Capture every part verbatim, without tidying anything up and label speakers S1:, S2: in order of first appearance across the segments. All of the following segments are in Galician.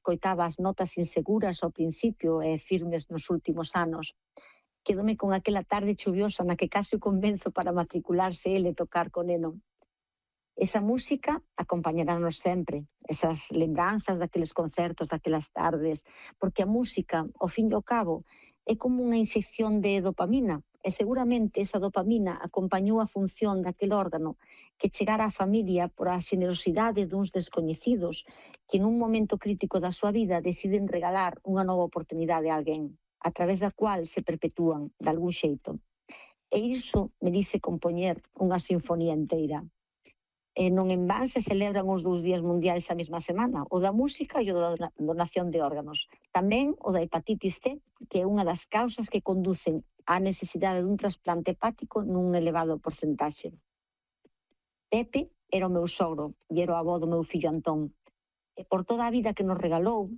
S1: escoitaba as notas inseguras ao principio e firmes nos últimos anos. Quedome con aquela tarde chuviosa na que case o convenzo para matricularse ele e tocar co neno. Esa música acompañaránnos sempre, esas lembranzas daqueles concertos, daquelas tardes, porque a música, ao fin e ao cabo, é como unha inxección de dopamina, e seguramente esa dopamina acompañou a función daquele órgano que chegara á familia por a xenerosidade duns descoñecidos que nun momento crítico da súa vida deciden regalar unha nova oportunidade a alguén, a través da cual se perpetúan, de algún xeito. E iso merece compoñer unha sinfonía inteira. E non en van se celebran os dous días mundiais a mesma semana, o da música e o da donación de órganos. Tamén o da hepatitis C, que é unha das causas que conducen á necesidade dun trasplante hepático nun elevado porcentaxe. Pepe era o meu sogro e era o avó do meu fillo Antón. E por toda a vida que nos regalou,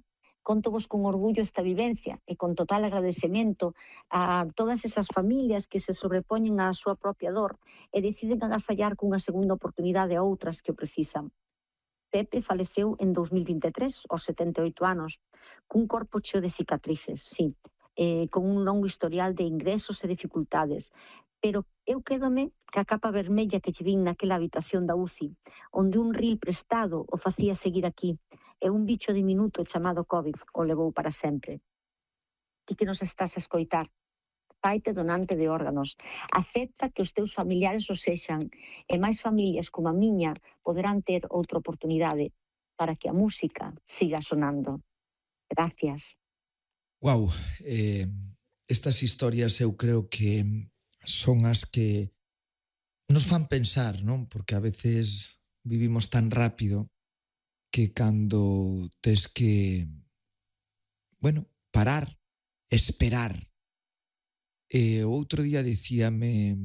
S1: contovos con orgullo esta vivencia e con total agradecemento a todas esas familias que se sobrepoñen á súa propia dor e deciden agasallar cunha segunda oportunidade a outras que o precisan. Pepe faleceu en dous mil vinte e tres, aos setenta e oito anos, cun corpo cheo de cicatrices, sí, eh, con un longo historial de ingresos e dificultades, pero eu quédome ca capa vermella que lle vin naquela habitación da U C I, onde un ril prestado o facía seguir aquí, e un bicho diminuto chamado COVID o levou para sempre. Ti que nos estás a escoitar, faite donante de órganos, acepta que os teus familiares o sexan, e máis familias como a miña poderán ter outra oportunidade para que a música siga sonando. Gracias.
S2: Guau, eh, estas historias eu creo que son as que nos fan pensar, non? Porque a veces vivimos tan rápido que cando tes que, bueno, parar, esperar. E outro día dicíame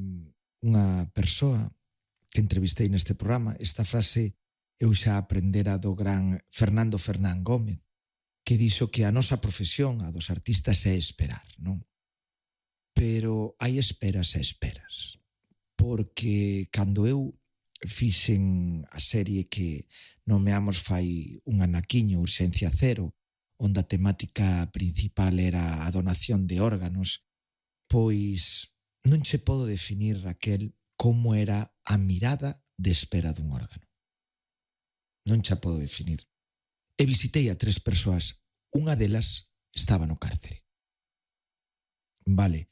S2: unha persoa que entrevistei neste programa, esta frase eu xa aprendera do gran Fernando Fernán Gómez, que dixo que a nosa profesión, a dos artistas, é esperar, non? Pero hai esperas e esperas. Porque cando eu fixen a serie que nomeamos fai un anaquiño, Urxencia Cero, onde a temática principal era a donación de órganos, pois non che podo definir, Raquel, como era a mirada de espera dun órgano. Non che podo definir. E visitei a tres persoas, unha delas estaba no cárcere. Vale,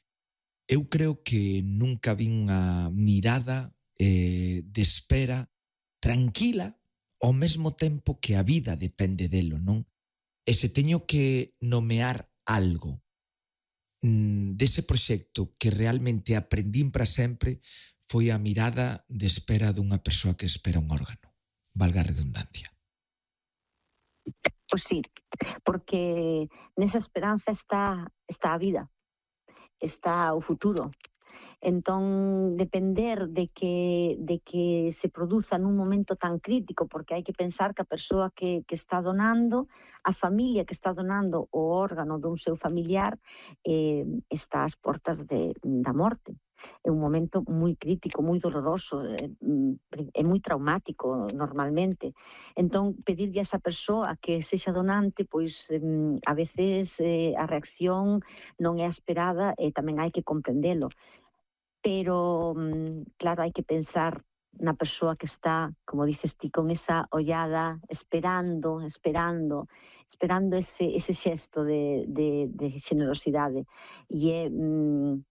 S2: eu creo que nunca vi unha mirada eh, de espera tranquila ao mesmo tempo que a vida depende delo, non? E se teño que nomear algo mm, dese proxecto que realmente aprendín para sempre, foi a mirada de espera dunha persoa que espera un órgano. Valga a redundancia.
S1: Pois sí, porque nesa esperanza está, está a vida, está o futuro. Entón, depender de que, de que se produza nun momento tan crítico, porque hai que pensar que a persoa que, que está donando, a familia que está donando o órgano dun seu familiar, eh, está ás portas de, da morte. É un momento moi crítico, moi doloroso, é, é moi traumático normalmente. Entón, pedirlle a esa persoa que sexa donante, pois a veces eh, a reacción non é a esperada e tamén hai que comprendelo. Pero, claro, hai que pensar na persoa que está, como dices ti, con esa ollada, esperando, esperando, esperando ese, ese xesto de, de, de xenerosidade. E é, mm,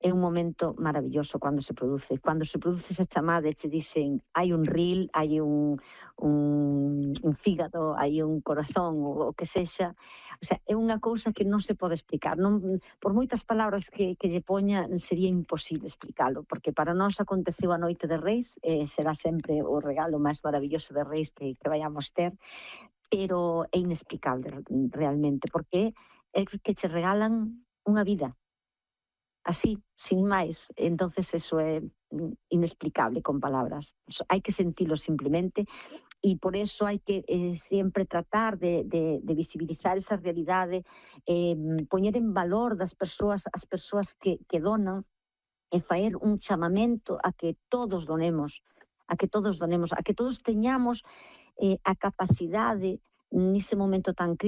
S1: é un momento maravilloso cando se produce. Cando se produce esa chamada e che dicen hai un ril, hai un, un, un fígado, hai un corazón, o, o que sexa. O sea, é unha cousa que non se pode explicar. Non, por moitas palabras que, que lle poña, sería imposible explicalo, porque para nós aconteceu a noite de Reis, e será sempre o regalo máis maravilloso de Reis que, que vayamos ter, pero é inexplicable realmente, porque é que che regalan unha vida. Así, sin máis. Entonces eso é inexplicable con palabras. Hai que sentilo simplemente e por eso hai que eh, sempre tratar de, de, de visibilizar esa realidade, eh, poñer en valor das persoas, as persoas que, que donan e faer un chamamento a que todos donemos, a que todos donemos, a que todos teñamos eh, a capacidade nese momento tan crítico